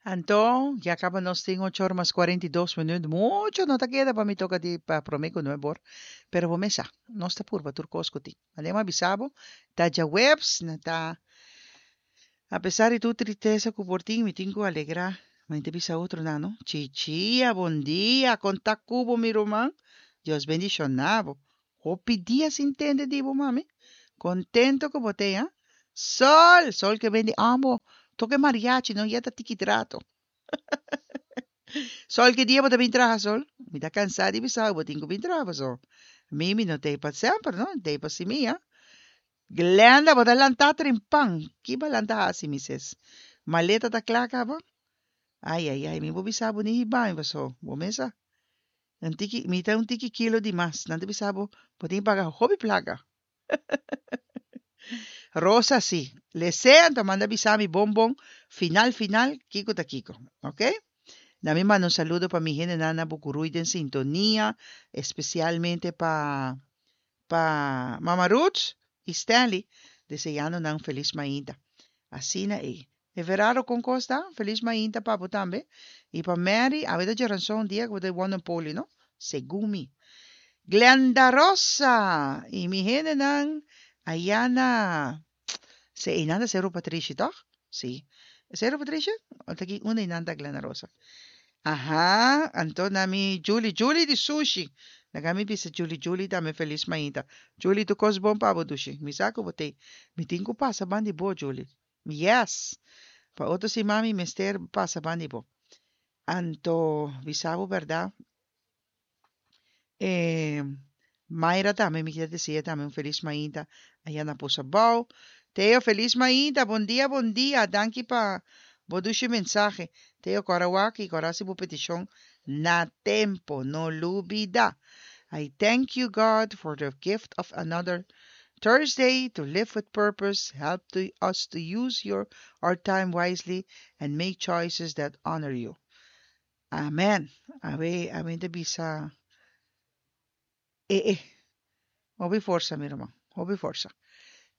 Anto, ya kaba nos tin ocho or mas 42 minuut. Mucho no ta keda pa mi toka di pa promé ku nuebe or. Pero bo mes sa, nos ta purba tur kos ku tin. Manera mi a bisa bo, ta djaweps, na ta apesar di tur tristesa ku por tin, mi tin ku alegrá. Mi ta bisa otronan, no? Chichia, bon dia, kon ta ku bo mi ruman? Dios bendishoná bo. Hopi dia sin tende di bo, mami. Contento cu bo t'ey, ha? Sol! Sol ke ben di ambo. Toca e mariachi, no yeta tiki trato. Sol, ki dia bo ta bin traha, Sol? Mi ta cansa di bisa bo tin cu bin traha, paso mi, mi no t'ey pa semper, no? Mi t'ey pa simia. Glenda, bo ta lanta trimpan. Ki bo a lanta haci, mi ses? Maleta ta cla caba? Ay, ay, ay, mi bo bisa bo ni hiba mi, paso bo mes sa. Un tiki, mi ta un tiki kilo di mas. Nan ta bisa bo, bo tin paga hopi plaka. Rosa, Si. Lesé, anto manda bisa mi bon bon, final final, kiko ta kiko. Ok? Na mi manda un saludo pa mi hendenan na Bucuruy den sintonia, especialmente pa pa Mama Ruth y Stanley, deseando nan felis mainta. Asina ei. Everardo con cos ta? Felis mainta pa bo tambe. Y pa Mary, awe ta djaranson dia cu bo ta wonder poli, no? Segun mi. Glenda Rosa! Y mi hendenan aya na. Se einan ta Cerro Patrishi, toch? Sí. Cerro Patrishi? O ta aki unda einan ta Glenda Rosa? Aha, anto na mi Julie, Julie di sushi. Laga mi bisa Julie, Julie tambe felis mainta. Julie, tur cos bon pa bo dushi. Mi sa cu bo t'ey. Mi tin cu pasa ban di bo, Julie. Yes! Pa otro siman mi mester pasa ban di bo. Anto bisa bo berdad, e Mayra tambe mi kier desea tambe un felis mainta aya na Posa Bou. Teo felis mainta, bon dia bon dia, danki pa bo dushi mensahe. Teo kora wak i kora hasi bo petishon na tempo, no lubida. I thank you God for the gift of another Thursday to live with purpose, help to us to use your our time wisely and make choices that honor you. Amen. Awe, awe ta bisa e e. Hopi forsa, mi ruman. Hopi forsa.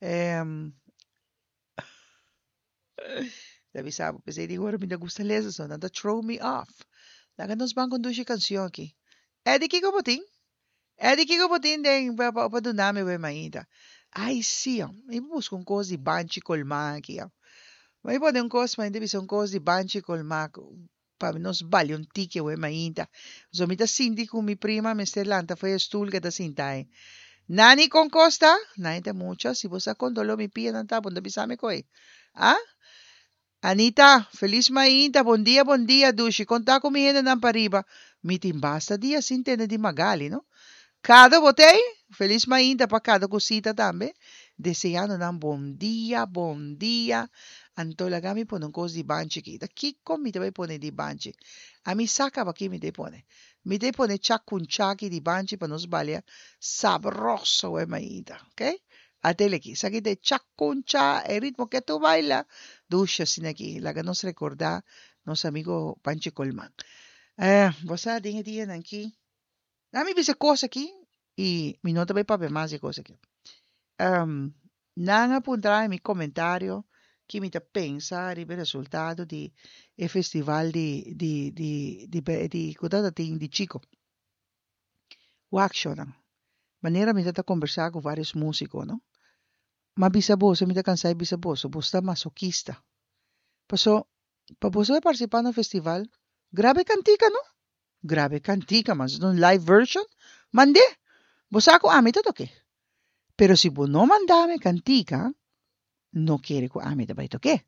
Um, ta bisa bo, p'esei di ora mi ta gusta lesa so, nan ta throw me off. Laga nos ban con dushi cancion aki. Eddie, kiko bo tin? Eddie, kiko bo tin den pa pa pa duna mi we mainta? Ai sí, oh. Mi busca un cos di banchi colma aki, oh. Mi pone un cos, mi ta bisa un cos di banchi colma pa nos balia un tiki awe mainta. So mi ta sinti ku mi prima mester lanta for e stoel ke ta sinta ei. Nani kon kos ta? Nani ta mucha, si bo sa kon doló mi pianan ta, bo no ta bisa mi koe. Ah? Anita, felis mainta, bon dia, bon dia, dushi, kon ta ku mi hendenan pariba? Mi tin basta dia sin tende di Magali, no? Kado bo t'ei? Felis mainta pa kada ku sita tambe. Deseando nan bon dia, bon dia. Anto laga mi pone un kos di banchi aki. Ta kiko mi ta bai pone di banchi? Ami sa kaba ki mi ta pone. Mi ta pone chakunchaki di banchi pa nos balia sabroso we mainta. Ok? Atele aki. Esaki ta e chakuncha, e ritmo ke tu baila. Dushi asina aki. Laga nos rekorda nos amigo Panchi Colman. Eh, bo sa den e dianan aki. Na mi bisa e kos aki i mi no ta bai papia mas di e kos aki. Nan a puntra mi komentario ki mi ta pensa riba e resultado di e festival di di di di di ku ta tin di Chico. Wak shownan. Manera mi ta ta kombersá ku vários músiko no. M'a bisa boso, mi ta kansá di bisa boso, boso ta masokista. Paso pa boso bai partisipá na un festival, graba e kantika no. Graba e kantika, mas un live version, mand'é. Bo sa ku ami ta tok'é. Pero si bo no manda mi e kantika, no kere ku ami ta bai tok'é.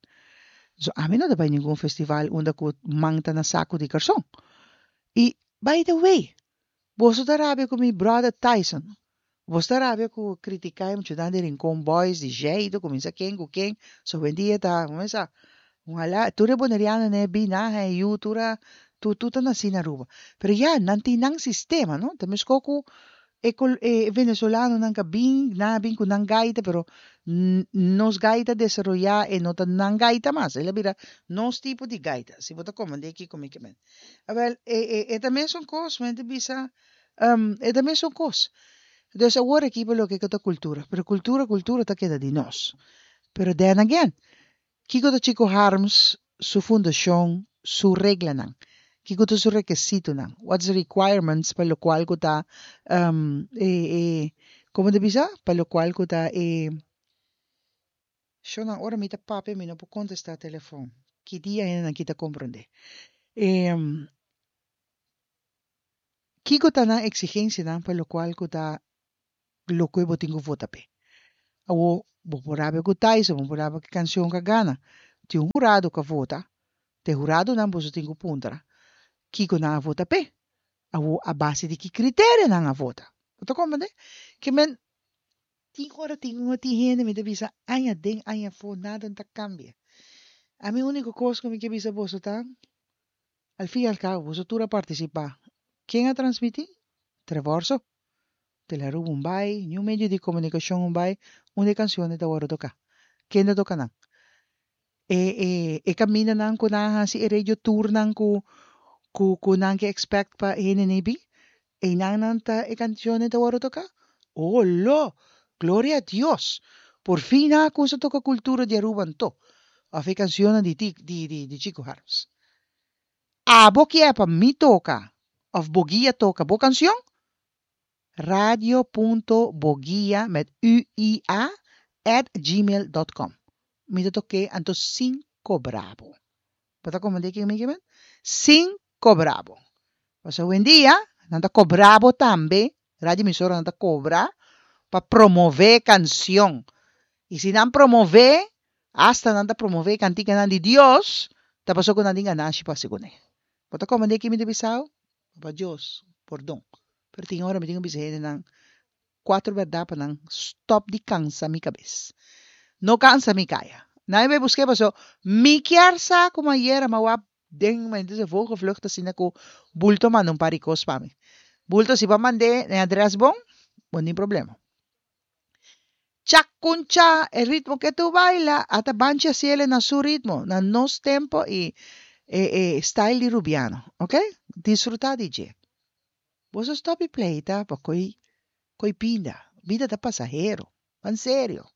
So ami no ta bai ningun festival unda ku man ta na saku di karson. I by the way, boso ta rabia ku mi brother Tyson. Boso ta rabia ku kritiká e muchanan di Rincon Boys, di Jeido, kuminsá ken ku ken. So hoendia ta, kuminsá, ojalá tur e bonerianonan e bin nan haña yu, tur a, tur tur ta nasí na Aruba. Pero ya, nan tin nan sistema, no? Ta meskos ku e kol e venezolanonan ka bin, nan a bin ku nan gaita, pero nos gaita desaroyá, e no ta nan gaita mas, el a bira nos tipo di gaita, si bo ta komprendé kiko mi ke men. Awel, e e e ta mesun kos, men ta bisa, E ta mesun kos. Dus awor aki pa loke ku ta kultura. Pero kultura, kultura ta keda di nos. Pero then again, kiko ta Chico Harms su fundashon? su reglanan? Kiko ta su rekesitonan? What's the requirements pa lokual ku ta e e komo ta bisa? Pa lokual ku ta e Shownan ora mi ta papia mi no por kontestá telefòn. Ki dia hendenan ki ta komprondé? E Kiko ta nan eksigensianan pa lokual ku ta loke bo tin ku vota p'e? Awor, bo por rabia ku Tyson, bo por rabia ku e kansion ku a gana. Tin un hurado ku a vota, ta e huradonan boso tin ku puntra kiko nan a vota p'e. Awor, a base di ki kriterio nan a vota? Bo ta komprende? Ke men tin ora tin un tin hende mi ta bisa aña den aña afó nada no ta kambia. Ami úniko kos ku mi ke bisa boso ta, Al fin y al cabo, boso tur a participa. Ken a transmiti? Trevor so. Tele-Aruba un bai, niun medio di comunicacion un bai, unda e cancionnan ta worde toca. Ken ta toca nan? E e e camindanan cu nan a haci e radio tournan cu cu cu nan ke expect pa hende nei bin, eynan nan ta e cancionnan ta worde toca? Oh lo! Gloria a Dios! Por fin nan a cuminsa toca cultura di Aruba anto, of e cancionnan di di di Chico Harms. Abo kier pa mi toca of bo guia toca bo cancion? Radio punto boguia met uia at gmail dot com. Mi ta tok'é anto sin kobra bo. Bo ta komprendé kiko mi ke men? Sin kobra bo. Pasobra awendia nan ta kobra bo tambe, radio emisoranan ta kobra pa promové kansion. I si nan promové, asta nan ta promové kantikanan di Dios, ta pasobra ku nan tin ganashi pa hasi kuné. Bo ta komprendé kiko mi ta bisa bo? Papa Dios, pordon. Pero tin ora mi tin ku bisa hendenan kuater bèrdat pa nan stòp di kansa mi kabes. No kansa mi kaya. Nan e bai busk'é paso mi kier sa ku ayera mi a wak den mi ta bisa vogelvlucht asina ku bulto a manda un par di kos pa mi. Bulto si bo a mand'é na e adrès bon, bo no tin problema. Chakuncha, e ritmo ke tu baila, ata banchi hasiele na su ritmo, na nos tempo y e e style di Rubiano, ok? Disfruta di dje. Boso stop di pleita pa koy koy pinda, bida ta pasahero, ban serio.